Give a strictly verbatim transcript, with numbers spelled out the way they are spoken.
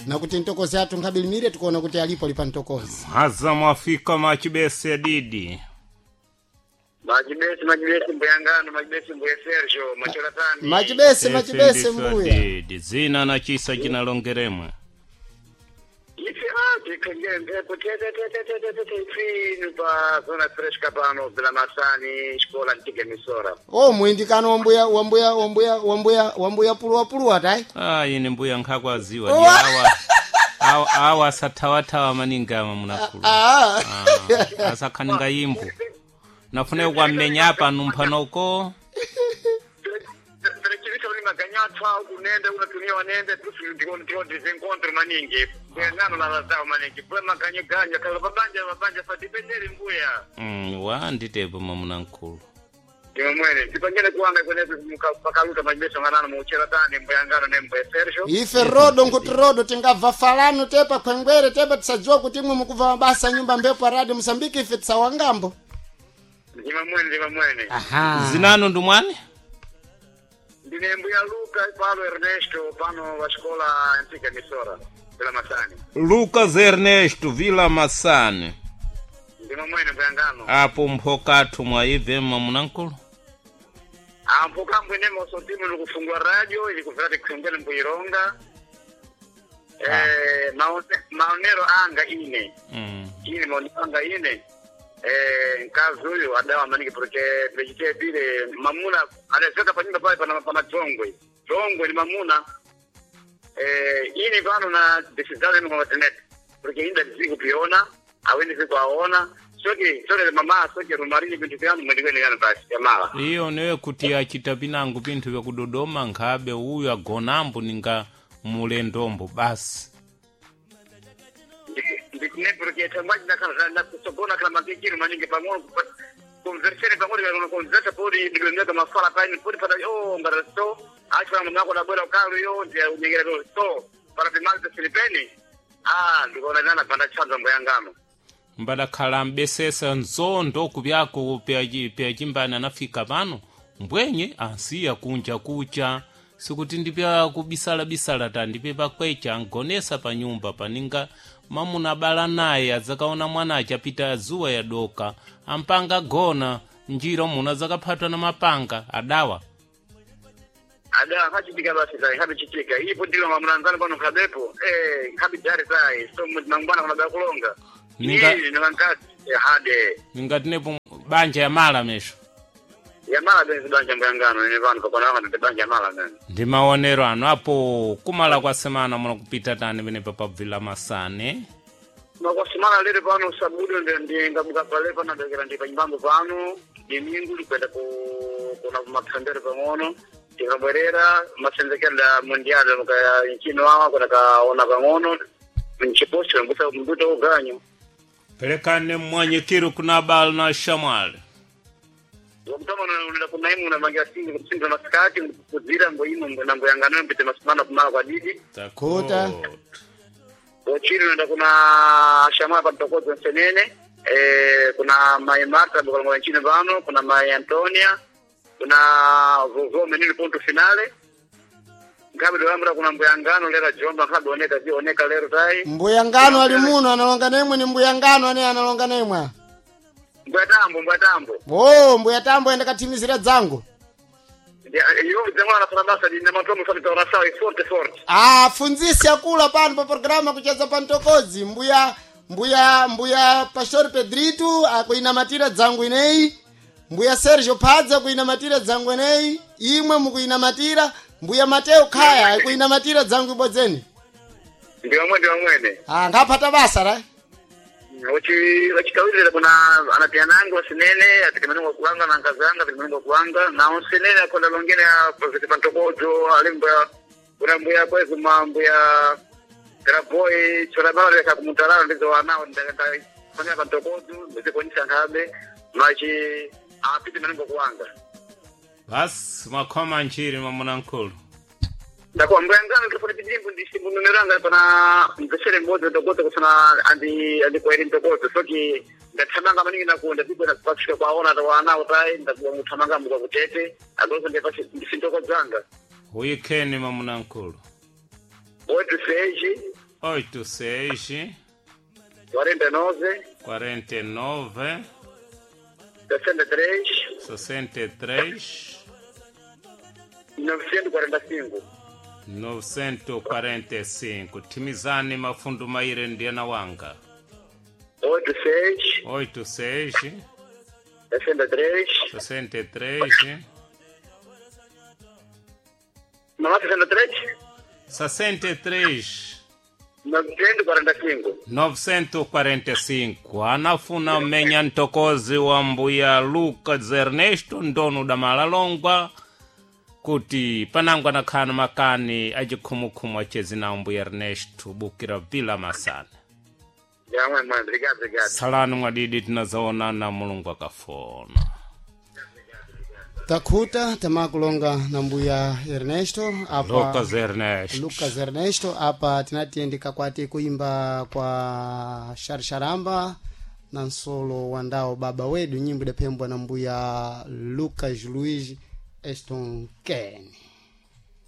Na kuti ntokozi athu nkhabilimire tikuona kuti alipo ali pa ntokozi. Haza mwafika machibese didi. Majibesi, majibesi mbuyangano, majibesi mbuye Sergio, machoratani. Machibese, machibese Efe mbuya. didi zina na chisa chinalongeremwe. Ife ah, tikenge mpepo tete tete tete tete ifinu pa zona fresca pano bila masani shkola ntige misora. O mwindikano wambuya wambuya wambuya wambuya wambuya puluwa puluwa tai. Ah, ine mbuya nkhakwaziwa Oh. di awa awa, awa asathawathawa maningi ama munakulu. Ah. Ah, asakhaninga yimbo. Nafune kwammenya apa numphanoko. Turekebisha muli maganyatwa kunende unatumia wanende tusu ndiko ndiko ndizinkontro maningi. Mbuyangano na lazao maningi. Mbuya maganyo ganya kala babanja babanja fatipendele mbuya. Mm, wa nditepo mamunankulu. Ndiwe mwene tipangene kuwanga kwenetu pakaluta majibesi nganano muucheratani mbuyangano ne mbuye Sergio. Ife rodo nkuti rodo tingabva falano tepa khwengwere tepa tisadziwa kuti imwe mukubva mabasa nyumba mbepo radio Mosambiki ife tisawangambo. Ndiwe mwene ndiwe mwene. Aha. Zinanu ndumwani? Ndine mbuya Luka Paulo Ernesto pano wa xikola Antiga Misora bila Masani. Lucas Ernesto Vila Masani. Ndimo mwene mbuya ngano. Apo mphokathu mwaibve mamunankulu. Ampo kambwe nemo sotimu nikufungua radio ili kuvera tikhengele mbuironga. Eh maone, maonero anga ine. Mm. Ine maonero anga ine. Eh nkazi uyu adawa maningi porque vejite bile mamuna anaweza pa nyumba pale pana pana dzongwe. Dzongwe ni mamuna. Eh ini pano na decisão ni kwa internet. Porque ainda ziku piona, awende ziku aona. Soke soke mama soke rumarini bintu vyanu mwendigwe yana basi ya mala. Iyo newe kuti achita pinango pinthu vyakudodoma nkhabe uyu agonambo ninga mulendombo basi. Ndikune porque tambaji na kana na kusogona kana makikiru maningi pang'ono conversene pang'ono kana conversa podi ndikwenga mafala pani podi pada oh ngara so acha mama yako na bora ukalu yo ndiye unyengera so para pimalta silipeni ah ndikona nana panda chanzo mboyangano Mbadakhala mbesesa nzondo kubyako pyachimbani anafika pano mbwenye ansiya kunja kucha sikuti ndipya kubisalabisala ta ndipe pakwecha angonesa pa nyumba paninga mamuna abala naye adzakaona mwana achapita zuwa yadoka ampanga gona njira muna adzakaphatwa na mapanga adawa. Ada hachitika basi sai habichitika ipo ndilo mamulanzano pano kabepo eh habidari sai so mangwana kuna ba kulonga Ninga- ni nikankati eh, hade Ningatinepo banja ya mala mesho. Ya mala benzi banja mboyangano ni vanhu pakona vanhu banja ya mala nani. Ndi maonero anu apo kumala kwa semana muno kupita tani penepa pabvila masane. Makwasimana lero pano sabudo ndingabuka pale pano ndokera ndi panyimbango pano dimingu ndikwenda ku kuna matsembero pang'ono ndikabwerera masenzekero da mundial mukaya nchino awa kuna kaona pang'ono mchiposto mbuta mbuta uganyo. Pelekane mmwanyikiro kuna abala na shamwali. Wakutama unaenda kuna imu unamangia singi kusinda masikati kuzira ngo imu ngo nambo yangano mpite masimana kumala kwa didi. Kuta. Ochiri unaenda kuna shamwa pa mtokozo nsenene eh, kuna mai Marta bukalongola nchini pano kuna mai Antonia kuna vovo menini punto finale ngabe dolamura kuna mbuyangano lera jomba ngabe oneka zi oneka lero tai. Mbuya ngano ali muno analonga nemwe ni mbuya ngano ane analonga nemwe. Mbuya tambo mbuya tambo. Oh, mbuya tambo enda kathimizira dzangu. Iyo dzangwana na basa di namatomo sani taona sawa forte forte. Ah, funzisi akula pano pa programa kucheza pa ntokozi. Mbuya mbuya mbuya Pastor Pedrito akuinamatira dzangu ineyi. Mbuya Sergio Padza akuinamatira dzangu ineyi. Imwe mukuinamatira. Mbuya Mateo Khaya akuinamatira dzangu ibodzeni. Ndiwe mwene ndiwe mwene. Ah, ngaphata basa ra. Uchi wachikawirira kuna anapianangu wasinene atikimenengo kuwanga na nkazanga atikimenengo kuwanga na unsinene akonda longene ya profesa Pantokojo alimbuya kuna mbuya kwezu mambuya Graboy chorabara leka kumutalala ndizo wanao ndakafanya Pantokojo ndizikuonyesha nkhabe machi apite menengo kuwanga. Basi mwakhoma nchiri mwamuna nkulu. Ndakuwa mbuyangano ndifuna pijimbu ndisimbununiranga pana mvesere mbodzi ntokoto kusana andi andikwairi ntokoto soki ndathamanga maningi nakunda ndipo pasvika kwaona tawana tai ndakuwa muthamanga muka kutete agozo ndipasi ndisintokodzanga. Uyikheni mwamuna nkulu. Oito seis Oito seis quarenta e nove quarenta e nove sessenta e três sessenta e três novecentos e quarenta e cinco. novecentos e quarenta e cinco. Timizani mafundu maire ndiana wanga. Oito seis Oito seis sessenta e três sessenta e três não é sessenta e três? sessenta e três Novecentos e quarenta e cinco. novecentos e quarenta e cinco. Anafuna mmenya ntokozi wa mbuya Lucas Ernesto ndono da Malalongwa kuti panango anakhana makani acikhumukhumu acezi na mbuya Ernesto bukira vila masana. Já, mãe, mãe, obrigado, obrigado. Salani mwadidi tinazaonana Mulungu akafona. Takhuta tamakulonga na mbuya Ernesto apa Lucas Ernesto. Lucas Ernesto apa tinatiyendeka kwati kuimba kwa Sharsharamba na nsolo wa ndao baba wedu, nyimbo idaphembwa na mbuya Lucas Luiz Eston Ken.